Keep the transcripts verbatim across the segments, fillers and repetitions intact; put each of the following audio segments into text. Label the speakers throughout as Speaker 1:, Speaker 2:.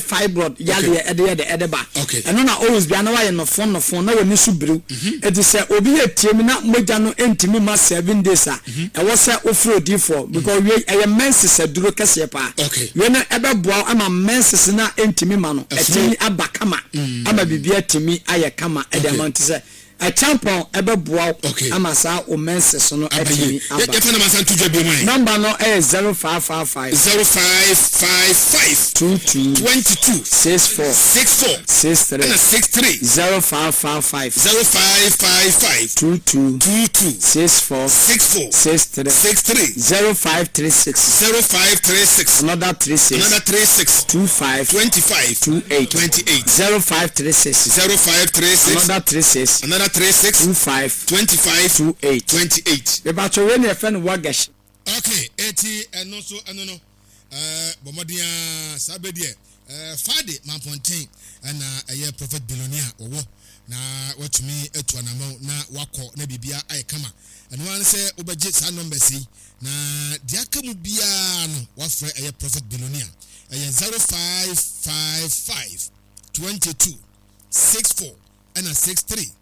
Speaker 1: Fibroid yadeɛ ɛde yɛ de ɛde ba.
Speaker 2: Okay.
Speaker 1: Ɛno na always bia na wayɛ nɔfo nɔfo na w'ani so biriw. Eti sɛ obi yɛ tie mi na mogya no ntumi ma seven days a, ɛwɔ sɛ wofiri odiifoɔ, because wie ɛyɛ menses aduro kɛseɛ paa.
Speaker 2: Okay.
Speaker 1: Wie no ɛbɛboa wo ama menses na ntumi ma no ɛtumi aba kama, ama biribi atumi ayɛ kama ɛde ama. Nti sɛ ɛkyampɔn ɛbɛboa wo
Speaker 2: Okay.
Speaker 1: ama saa o menses no
Speaker 2: aba
Speaker 1: ɛtumi
Speaker 2: yie.
Speaker 1: Aba.
Speaker 2: Yɛfa na ma nsa nto dwa bi mu ayɛ.
Speaker 1: Number no ɛyɛ zero five five five
Speaker 2: zero five five five
Speaker 1: two two
Speaker 2: twenty-two
Speaker 1: six four
Speaker 2: six four
Speaker 1: six three.
Speaker 2: Ɛna six three.
Speaker 1: zero five five five
Speaker 2: zero five five five
Speaker 1: two two
Speaker 2: two two
Speaker 1: six four
Speaker 2: six four
Speaker 1: six three.
Speaker 2: six three.
Speaker 1: zero five three six
Speaker 2: zero five three six
Speaker 1: another three six
Speaker 2: another three six
Speaker 1: two five
Speaker 2: twenty-five
Speaker 1: two eight.
Speaker 2: twenty-eight.
Speaker 1: zero five three six
Speaker 2: zero five three six
Speaker 1: another three six
Speaker 2: another three six
Speaker 1: two five
Speaker 2: twenty-five
Speaker 1: two eight.
Speaker 2: twenty-eight.
Speaker 1: Mebatɔ wei ne yɛfrɛ no wagash.
Speaker 2: Okay, eti ɛno nso ɛno no ɛɛ bɔ mmɔden a saa bɛ deɛ ɛɛ Fade Mampɔnten ɛna ɛyɛ Prophet Billionaire wɔwɔ na watumi atu anamɔ na wakɔ na biribia ayɛ kama. Ɛno ara ne sɛ wobɛgye saa numbers yi na deɛ aka mu biara no wafrɛ ɛyɛ Prophet Billionaire. Ɛyɛ zero five five five twenty-two six four ɛna six three.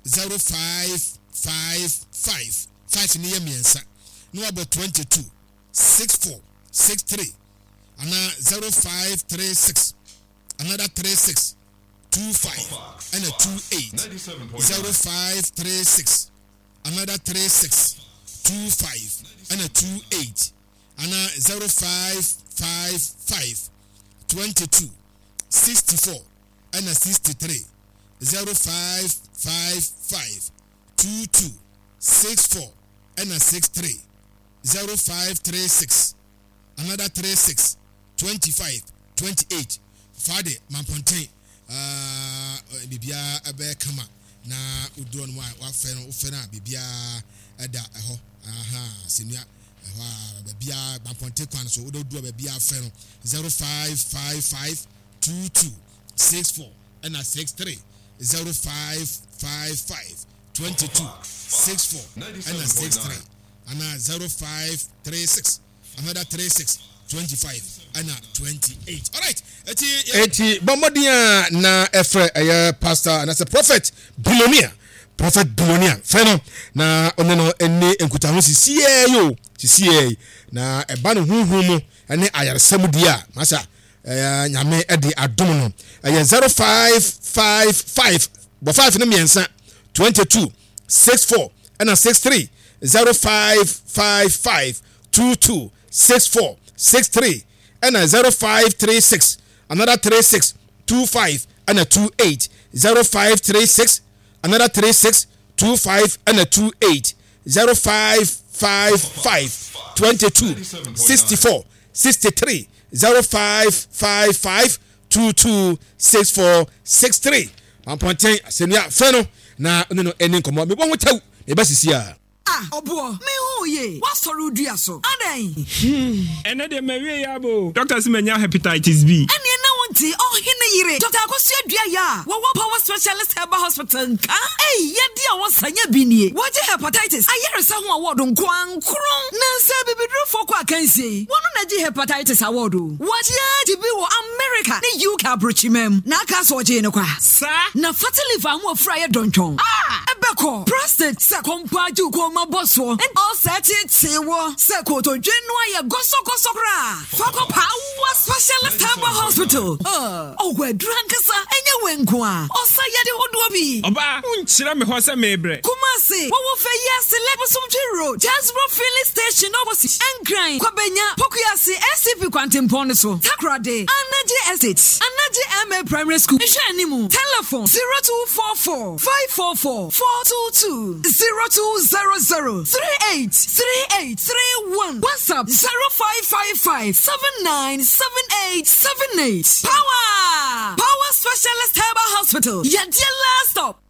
Speaker 2: zero five five five, five ne yɛ mmiɛnsa na wabɔ twenty-two six four six three, anaa zero five three six another three six two five ɛna two eight. zero five three six another three six two five ɛna two eight, anaa zero five five five twenty-two sixty-four ɛna sixty-three. zero five five five twenty-two sixty-four ɛna sixty-three. zero five three six another thirty-six twenty-five twenty-eight. Fade Mampɔnten, biribiara ɛbɛyɛ kama na wodoɔ no mu a wafɛ no, wofɛ no a biribiara ɛda ɛhɔ aha sɛnua ɛhɔ a baabiara Mampɔnten kwan so wode wodoɔ baabiara fɛ no zero five five five twenty-two sixty-four ɛna sixty-three. zero five five five twenty-two sixty-four ɛna sixty-three, ana zero five three six another thirty-six twenty-five ɛna twenty-eight. Alright, eti eti bɔ mmɔden a na ɛfrɛ ɛyɛ pastor anaasɛ Prophet Billionaire. Prophet Billionaire, fɛ no na ɔne no ɛne nkutaho sisiɛ yi o, sisiɛ yi na ɛba no huhu mu ɛne ayaresɛm di a masa ɛyɛ Nyame ɛde adom no. Ɛyɛ zero five five five, bɔ five no mmiɛnsa, twenty-two sixty-four ɛna sixty-three. zero five five five twenty-two sixty-four sixty-three, ɛna zero five three six another thirty-six twenty-five ɛna twenty-eight. zero five three six another thirty-six twenty-five ɛna twenty-eight. zero five five five twenty-two sixty-four sixty-three, zero five five five twenty-two sixty-four sixty-three. Mampɔnten asɛnnua, fɛ no na ɔne no ɛni nkɔmmɔ. Mebɔ ho kyɛw meba sisi a.
Speaker 3: Ah, ɔboɔ, mehu ye woasɔre wo dua so adɛn?
Speaker 4: Ɛnɛ deɛ mawie yɛ abo. Doctor sɛ manya hepatitis B.
Speaker 3: Ɛneɛ na wonte ɔhene yere Doctor Akosua Dua yɛ a wɔwɔ Power Specialist Herbal Hospital nka. Ei, yɛde a wɔsanya bi nie. Wɔgye hepatitis ayaresa ho award nko ankoron nansa bibidurofoɔ kɔ akansie yi, wɔno na gye hepatitis award o. Wɔgye agye bi wɔ America ne U K aburokyima mu na aka sɛ ɔgyee no kwa.
Speaker 4: Saa.
Speaker 3: Na fatty liver ho afura yɛ dɔntwɔn a ɛbɛkɔ prostate sɛ kɔmpa agye wo kɔn ma bɔ soɔ, ɔsɛ tetee wɔ sɛ kotodwe no ayɛ gɔsɔgɔsɔ koraa, fa kɔ Power Specialist Herbal Hospital. Ɔwɔ aduru ankasa, ɛnyɛ wɔ nko a ɔsa yɛde hodoɔ bi.
Speaker 4: Ɔbaa, wonkyerɛ me hɔ sɛ meebrɛ.
Speaker 3: Kumasi, wɔwɔ fɛ yi ase Lɛbosomtwe Road, Jasbro Filling Station opposite, Nkran, Kwabenya, Pokuase S C P kwantempɔn no so, Takoradi, Anagye Estate, Anagye Ma Primary School nhwɛ anim. Telephone zero two four four five four four four two two, zero two zero zero three eight three eight three one, WhatsApp zero five five five seven nine seven eight seven eight. Power Power Specialist Herbal Hospital, yɛdeɛ last stop.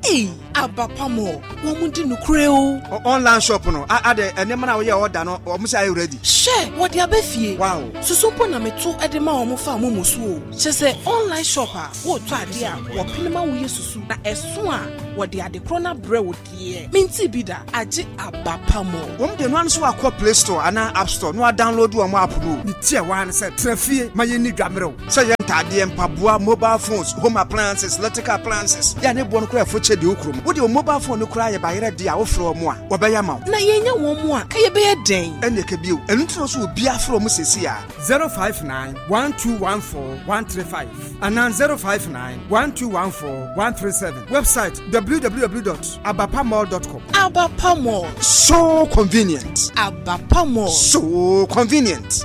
Speaker 5: Ei, abapamɔ, wɔn mu di nukure o.
Speaker 6: Online shop no ade nneɛma na woyɛ ɔda no, ɔmo sɛ ayɛ ready.
Speaker 5: Hwɛ, wɔde aba fie.
Speaker 6: Wow.
Speaker 5: Susu mpo na meto de ma wɔn fa momo so o. Kyɛ sɛ online shop a wɔretɔ adeɛ a wɔpene ma woyɛ susu na ɛso a wɔde ade korɔ no abrɛ wo deɛ. Menti bi da, agye abapamɔ.
Speaker 6: Wɔn de no ano so akɔ Play Store anaa App Store na wa download wɔn app no. Ne ti a waa no sɛ tena fie ma yɛn ni dwammerɛw sɛ yɛ. Ntaadeɛ, mpaboa, mobile phones, home appliances, electrical appliances. Yɛ a ne boɔ no koraa ɛfo kyɛ deɛ wo kurom. Wode wo mobile phone no koraa yɛ bayerɛ deɛ a wofrɛ wɔn a, wɔbɛyɛ ama wo.
Speaker 5: Na yɛnnya wɔn mu a, ka yɛbɛyɛ dɛn?
Speaker 6: Ɛnneɛ ka bio. Ɛno nti na ɔsɛ obiara frɛ wɔn seesei ara. zero five nine one two one four one three five anaa zero five nine one two one four one three seven. Website www dot abapamall dot com.
Speaker 5: Abapa Mall.
Speaker 6: So convenient.
Speaker 5: Abapa Mall.
Speaker 6: So convenient.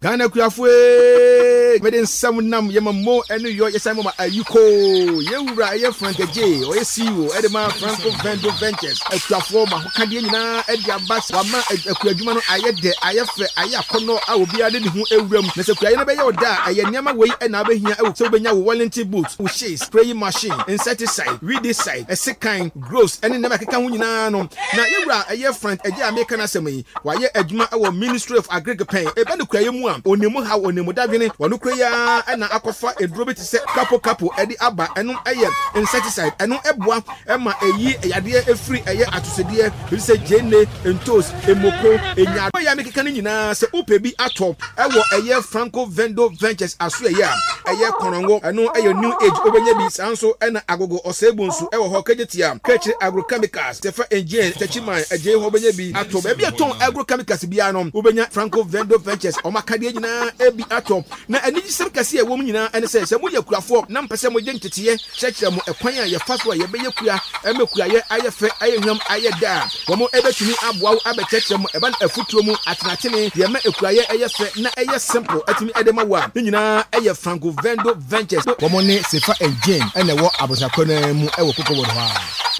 Speaker 2: Ghana kuafo ee, mede nsɛm nam yɛma mo ɛne yɔ yɛsan moma ayiko yɛwura ɛyɛ Frank Agye ɔyɛ C E O ɛde ma Franco Vendo Ventures akuafoɔ ma ahokadeɛ nyinaa ɛde aba wama akuadwuma no ayɛ dɛ ayɛ fɛ ayɛ akɔnnɔ a obiara de ne ho ewura mu na sɛ kuayɛ no bɛyɛ ɔda a ɛyɛ nneɛma wei ɛna abɛhia ɛwɔ sɛ wobɛnya wo Wellington boot, wo shades, spraying machine, insecticide, weedicide, ɛsekan, groves ɛne nneɛma ɛkeka ho nyinaa no na yɛwura ɛyɛ Frank Agye a meka n'asɛm yi wayɛ adwuma ɛwɔ Ministry of Agric pɛn ɛbɛ no kuayɛ mu a onimu haw onimu dadwene wɔno kura yi ara ɛna akɔfa eduro bi te sɛ kapo kapo ɛde aba ɛno ɛyɛ insecticide ɛno ɛboa ɛma ɛyi yadeɛ efiri ɛyɛ atosodeɛ bi te sɛ gyeene, ntos, emoko, enya yɛ a mekeka no nyinaa sɛ wopɛ bi atɔ ɛwɔ ɛyɛ Franco Vendo Ventures aso ɛyɛ a ɛyɛ kɔnɔngo ɛno ɛyɛ new age wobɛnya bi saa nso ɛna agogo ɔsɛebu nso ɛwɔ hɔ Kejetia Kekyire agrochemicals Tefa Engine Techiman ɛgye hɔ wobɛnya bi atɔ baabi a tɔn agrochemicals biara no wobɛnya Franco Vendo Ventures ɔmo akadeɛ nyinaa ebi atɔ na anigyesɛm kɛse a ɛwɔ mu nyinaa ɛne sɛ sɛ moyɛ kuafoɔ na mpɛ sɛ mogye nteteɛ kyerɛkyerɛ mo ɛkwan a yɛfa so a yɛbɛyɛ kua ɛmɛ kuayɛ ayɛ fɛ ayɛ hwam ayɛ da a wɔn ɛbɛtumi aboa wo abɛkyerɛkyerɛ mo ɛba no afutuo mu atenatene deɛ ɛma ekuayɛ ɛyɛ fɛ na ɛyɛ simple ɛtumi ɛde ma wo a ne nyinaa ɛyɛ Franco Vendo Ventures wɔn ne Sefa and Jane ɛna ɛwɔ abosakɔ no mu ɛwɔ Cocoa Board hɔ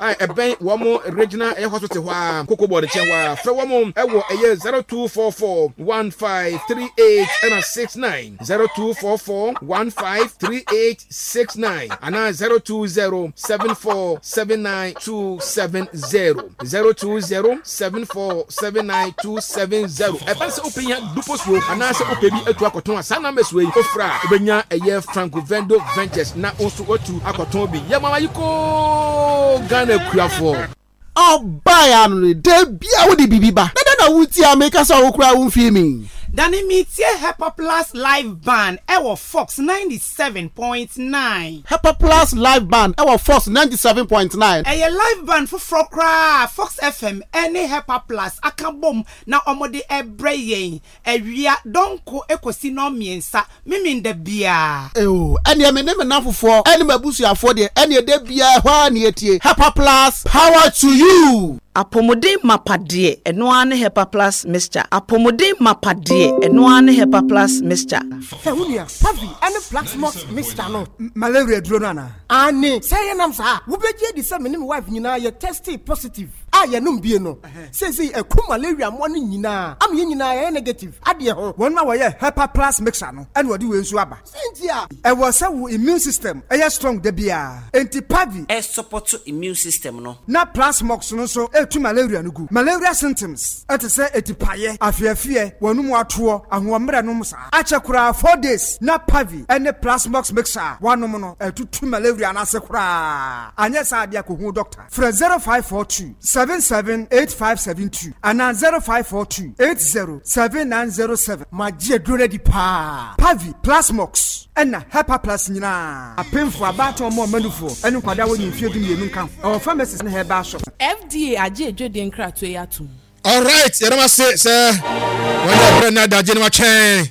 Speaker 2: a ɛbɛn wɔn regional ɛyɛ hospital hɔ a Cocoa Board nkyɛn hɔ a frɛ wɔn ɛwɔ ɛyɛ zero two four four one five three eight ɛna six nine zero two four four one five three eight six nine ana zero two zero seven four seven nine two seven zero zero two zero seven four seven nine two seven zero. Ɛbɛn sɛ wopɛ nya dupo suo anaasɛ wopɛ bi atu akɔtɔn a saa numbers wei ofra a wobɛnya ɛyɛ Franco Vendo Ventures na wo nso watu akɔtɔn bi yɛ mama yi koo Ghana kuafoɔ.
Speaker 7: Ɔbaa ano no da bia wode biribi ba dada na wotie a meka sɛ wo koraa womfii mi.
Speaker 8: Dane metie Hepa Plus Live Band ɛwɔ Fox ninety-seven point nine.
Speaker 7: Hepa Plus Live Band ɛwɔ Fox ninety-seven point nine.
Speaker 8: Ɛyɛ live band foforɔ koraa Fox F M ɛne Hepa Plus aka bom na ɔmode ɛbrɛ yɛn awia dɔnko ekosi nɔɔ mmiɛnsa miminda biara.
Speaker 7: Eo ɛneɛ me ne me namfofoɔ ɛne m'abusuafoɔ deɛ ɛneɛ da biara ɛhɔ a ne yɛtie Hepa Plus power to you.
Speaker 3: Apomuden mapa deɛ ɛno ara ne Hepa Plus mixture. Apomuden mapa deɛ ɛno ara ne Hepa Plus mixture.
Speaker 9: Sɛ wo nua Pavi ɛne Plasmox mixture no.
Speaker 6: Malaria duro no ana?
Speaker 9: Ane sɛ yɛnam saa wobɛgye di sɛ me ne me wife nyinaa yɛ tested positive a yɛnom bie no. Seesei ɛku malaria mmoa no nyinaa ama yɛn nyinaa yɛyɛ negative adeɛ ho.
Speaker 6: Wɔn a wɔyɛ Hepa Plus mixture no ɛna wɔde wei nso aba.
Speaker 9: Sɛ nti a
Speaker 6: ɛwɔ sɛ wo immune system ɛyɛ strong da biara. Enti Pavi
Speaker 10: ɛ support immune system no.
Speaker 6: Na Plasmox no nso etu malaria no gu. Malaria symptoms ɛte sɛ etipayɛ, afiafie, wɔn mu atoɔ, ahoɔmmerɛ nom saa. Akyɛ koraa four days na Pavi ɛne Plasmox mixture wanom no ɛtutu malaria n'ase koraa. Anyɛ saa adeɛ akɔhu doctor. Frɛ zero five four two seven seven eight five seven two ana zero five four two eight zero seven nine zero seven.
Speaker 9: Magye aduro no adi paa.
Speaker 6: Pavi, Plasmox ɛna Hepa Plus nyinaa. Apemfo abaatan ɔmo ɔmanufoɔ ɛne nkwadaa wɔ ne mfeɛ du mmienu nka ho. Ɛwɔ pharmacies ne herbal shop.
Speaker 5: F D A agye adwadie nkratoɔ yi atom.
Speaker 2: All right, yɛrɛ ma se sɛ wɔn yɛ brɛ na adagye ne wa twɛn.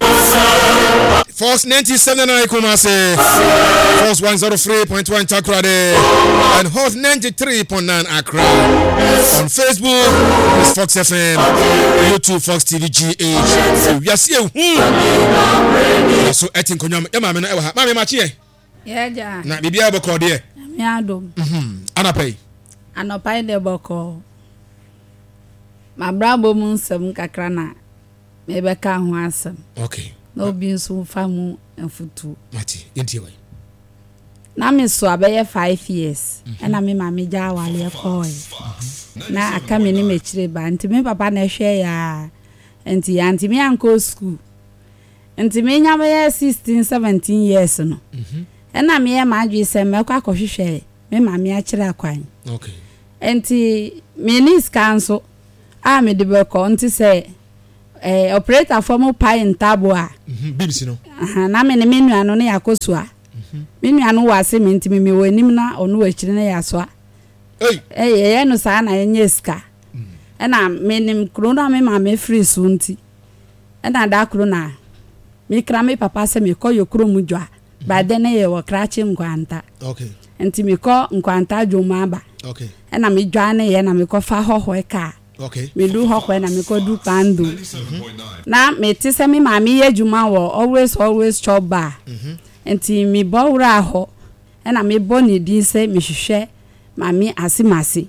Speaker 2: Fox ninety-seven nine Kumasi, Fox one zero three point one Takoradi, and Hot ninety-three point nine Accra. On Facebook, it's Fox F M, YouTube Fox T V G H. We are seeing who. So etin konyam, ya maame na ewa ha. Maame ma chie.
Speaker 11: Yeah, ja.
Speaker 2: Na bibia bɔkɔ deɛ.
Speaker 11: Me adom.
Speaker 2: Mhm. Anapɛ.
Speaker 11: Anɔpa de bɔkɔ. Ma brabo mu nsɛm kakra na mebɛka ho asɛm.
Speaker 2: Okay.
Speaker 11: Na obi nso fa mu mfutu.
Speaker 2: Mati, yɛntie wai.
Speaker 11: Na me so abɛyɛ five years. Ɛna me maame gya awale kɔe. Na aka me ne m'akyire ba. Nti me papa na ɛhwɛ ya. Nti ya nti me ankɔ school. Nti me nya bɛyɛ sixteen, seventeen years no. Ɛna me yɛ m'adwe sɛ mɛkɔ akɔhwehwɛ me maame akyerɛ akwan.
Speaker 2: Okay.
Speaker 11: Nti me ni sika nso a me de bɛkɔ nti sɛ Eh, operator foɔ mo pae ntabo a.
Speaker 2: Mhm, beams no.
Speaker 11: Aha, na me ne me nua no ne yɛakɔ sua.
Speaker 2: Mhm.
Speaker 11: Me nua no wɔ ase me nti me mewɔ anim na ɔno wɔ akyiri na yɛasoa.
Speaker 2: Ei.
Speaker 11: Eh, yɛyɛ no saa na yɛnyɛ sika.
Speaker 2: Mm.
Speaker 11: Ɛna menim kuro no a me maame firi so nti. Ɛna da koro na mekra me papa sɛ mekɔ yɛ kurom dwa.
Speaker 2: Mhm.
Speaker 11: By then na yɛwɔ Krakye Nkwanta.
Speaker 2: Okay.
Speaker 11: Nti mekɔ Nkwanta dwom aba.
Speaker 2: Okay.
Speaker 11: Ɛna medwaneeɛ na mekɔfa hɔhɔɛ kaa.
Speaker 2: Okay.
Speaker 11: Medu hɔ kɔɛ na mekɔdu Kpando. Na mete sɛ me maame yɛ adwuma wɔ Always Always Chop Bar. Nti mebɔ wuraa hɔ ɛna mebɔ ne din sɛ mehwehwɛ Maame Asimasi.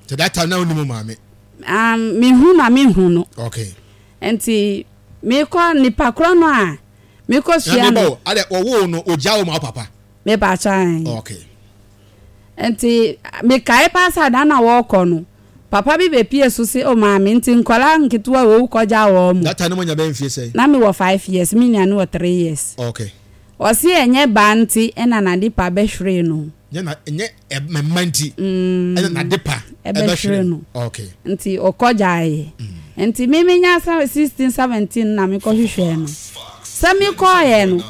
Speaker 2: So that time na wonim wo maame?
Speaker 11: Um, mehu na mehu no.
Speaker 2: Okay.
Speaker 11: Nti mekɔ nipa korɔ no a mekɔ sua no.
Speaker 2: Adɛ wɔwoo no ogya wo ma wo papa?
Speaker 11: Mepakyɛ.
Speaker 2: Okay.
Speaker 11: Nti mekae paa sɛ da no a wɔrekɔ no, papa bi bepie so se, Oh maame, nti nkwadaa nketewa wei wokɔgyaa wɔn mo?
Speaker 2: That time na moanya bɛyɛ mfie sɛn?
Speaker 11: Na mewɔ five years, me nua no wɔ three years.
Speaker 2: Okay.
Speaker 11: Ɔse ɛnyɛ baa nti na n'adepa bɛhweree no.
Speaker 2: Nyɛ na ɛnyɛ mma nti ɛna n'adepa ɛbɛhwere no. Okay.
Speaker 11: Nti ɔkɔgyaeɛ. Nti me menya sixteen, seventeen na mekɔhwehwɛɛ no. Sɛ mekɔeɛ no,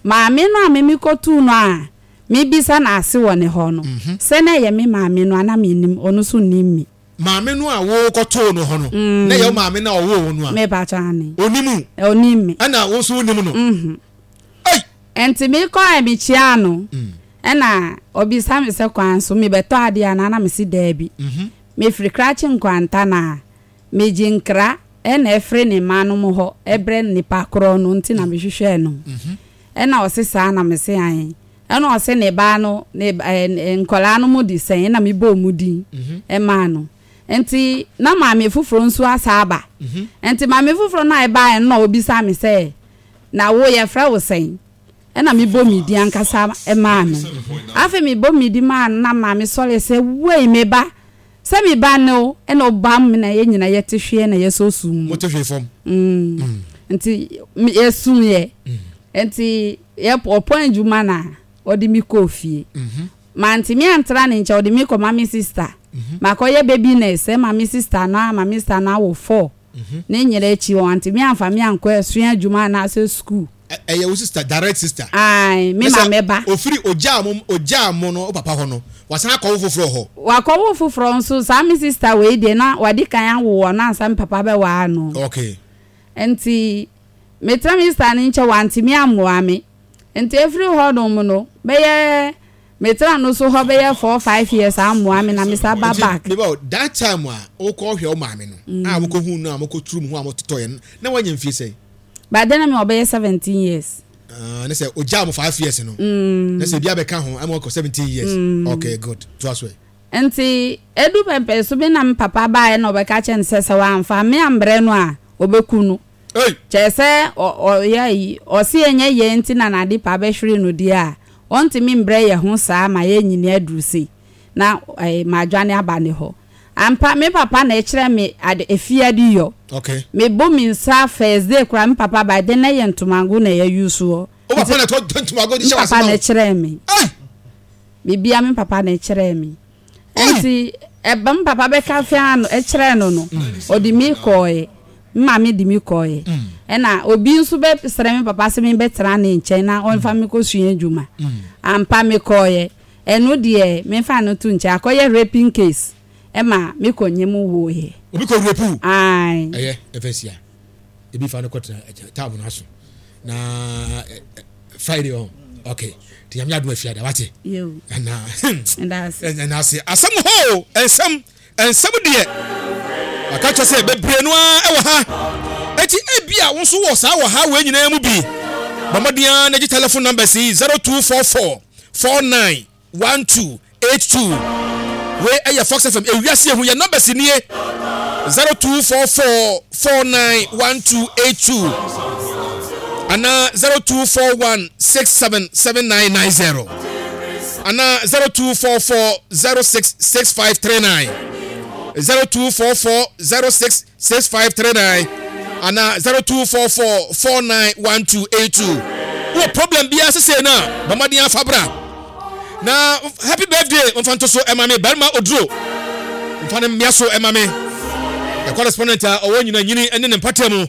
Speaker 11: Maame no a me mekɔtuu no a mebisa no ase wɔ ne hɔ no, sɛ na ɛyɛ me maame no a, na mennim, ɔno nso nnim me.
Speaker 2: Maame no a wokɔtoo no hɔ no, na ɛyɛ wo maame no a ɔwoo wo no a?
Speaker 11: Mepakyɛ, aane.
Speaker 2: Ɔnim
Speaker 11: wo? Ɔnim me.
Speaker 2: Ɛna wo nso wonim no?
Speaker 11: Mhm.
Speaker 2: Ei!
Speaker 11: Nti mekɔɛ mekyiaa no, ɛna ɔbisa me sɛ kwan so mebɛtɔ adeɛ anaa, na mese daabi. Mefiri Krachi Nkwanta na Megye nkra na ɛfiri ne mma nom hɔ brɛ nipa korɔ no nti na mehwehwɛɛ no. Ɛna ɔse saa na mese ae. Ɛna ɔse ne ba no ne nkwadaa no mo de sɛn ɛna mebɔɔ mu din maa no. Nti na maame foforɔ nso asa aba. Nti maame foforɔ no a ɛbaeɛ no na ɔbisa me sɛ na wo yɛfrɛ wo sɛn? Ɛna mebɔ me din ankasa maa no. Afei mebɔ me din maa no na maame sɔre sɛ wei me ba Sɛ me ba ne wo na ɔbam me na yɛn nyinaa yɛte hweɛ na yɛsɔ sum mu.
Speaker 2: Mote hwee fam.
Speaker 11: Mm. Nti yɛsum yɛ. Nti yɛ ɔpɔn adwuma na ɔde me kɔɔ fie. Mantumi antra ne nkyɛn ɔde me kɔma me sista. Makɔyɛ baby nurse ɛma me sista no ama me sista no awo four. Ne nyera akyi wantumi amfa me ankɔ asua adwuma anaasɛ sukuu.
Speaker 2: Ɛyɛ wo sister, direct sister?
Speaker 11: Ae, me maame ba.
Speaker 2: Ofiri ogyaa mo ogyaa mo no wo papa hɔ no, wasan akɔwo foforɔ wɔ hɔ?
Speaker 11: Wakɔwo foforɔ nso, saa me sister wei deɛ na wadi kan awo wɔ no ansa me papa bɛwaa no.
Speaker 2: Okay.
Speaker 11: Nti metena me sister no nkyɛn wantumi ammoa me. Nti efiri hɔ nom no bɛyɛ metena no so hɔ bɛyɛ four five years ammoa me na me san ba back.
Speaker 2: Nti meba o, that time a wokɔ hwɛ wo maame no a wokɔ hu no a mokɔ turu mo ho a mototɔ yɛ no na wanya mfie sɛn?
Speaker 11: By then na me wɔ bɛyɛ seventeen years.
Speaker 2: Ah, ne sɛ ogyaa mo five years no.
Speaker 11: Mm.
Speaker 2: Ne sɛ ebi abɛka ho ɛma ɔkɔ seventeen years.
Speaker 11: Mm.
Speaker 2: Okay, good. To aso ɛ.
Speaker 11: Nti edu pɛmpɛn so bi na me papa baeɛ na ɔbɛka kyerɛ no sɛ sɛ wamfa me ambrɛ no a ɔbɛku no.
Speaker 2: Ei!
Speaker 11: Kyerɛ sɛ ɔyɛ ayi, ɔse ɛnyɛ yɛn nti na n'adepa bɛhwere no deɛ a, ɔntumi mbrɛ yɛn ho saa ma yɛanyini aduru sei na madwane aba ne hɔ. Ampa, me papa na ɛkyerɛ me ade, efie adeyɔ.
Speaker 2: Okay.
Speaker 11: Me bo me nsa first day koraa me papa bae de na ɛyɛ ntomago na yɛ use wɔ.
Speaker 2: Wo papa na ɛtɔ ntomago de hyɛ
Speaker 11: Me
Speaker 2: w'ase
Speaker 11: papa
Speaker 2: ma
Speaker 11: na
Speaker 2: wo?
Speaker 11: ɛkyerɛɛ me.
Speaker 2: Ei!
Speaker 11: Biribiara me papa na ɛkyerɛɛ me. Nti ɛba me papa bɛka fia no ɛkyerɛɛ no no, ɔde me kɔɔɛ. Me maame de me kɔɔɛ. Ɛna obi nso bɛ srɛ me papa sɛ me bɛtena ne nkyɛn na ɔnfa me kɔ sua adwuma. Ampa me kɔɔɛ. Ɛno deɛ menfa no to nkyɛn, akɔyɛ raping case ɛma me kɔ nyɛ mu woeɛ.
Speaker 2: Obi kɔ rape wo?
Speaker 11: Ae.
Speaker 2: Ɛyɛ ɛfɛ sia ebi fa no kɔ tena taabu no aso na Friday ɔn okay ti nyame adum afia da wate.
Speaker 11: Yo.
Speaker 2: Ɛna
Speaker 11: Ɛda ase.
Speaker 2: Ɛna ase asɛm hɔ nsɛm nsɛm deɛ aka kyerɛ sɛ bebree no ara ɛwɔ ha eti ebi a wo nso wɔ saa wɔ ha wɔ nyinaa mu bi bɔ mmɔden ara na gye telephone numbers yi zero two four four four nine one two eight two wei ɛyɛ Fox F M ewiase ehu yɛ numbers nie zero two four four four nine one two eight two anaa zero two four one six seven seven nine nine zero anaa zero two four four zero six six five three nine zero two four four zero six six five three nine anaa zero two four four four nine one two eight two. Wɔ problem biara sesei no a, bɔ mmɔden afa bra. Na happy birthday mfa nto so ɛma me barima oduro mfa no mmea so ɛma me. The correspondent a ɔwɔ nyina nyini ne ne mpata mu.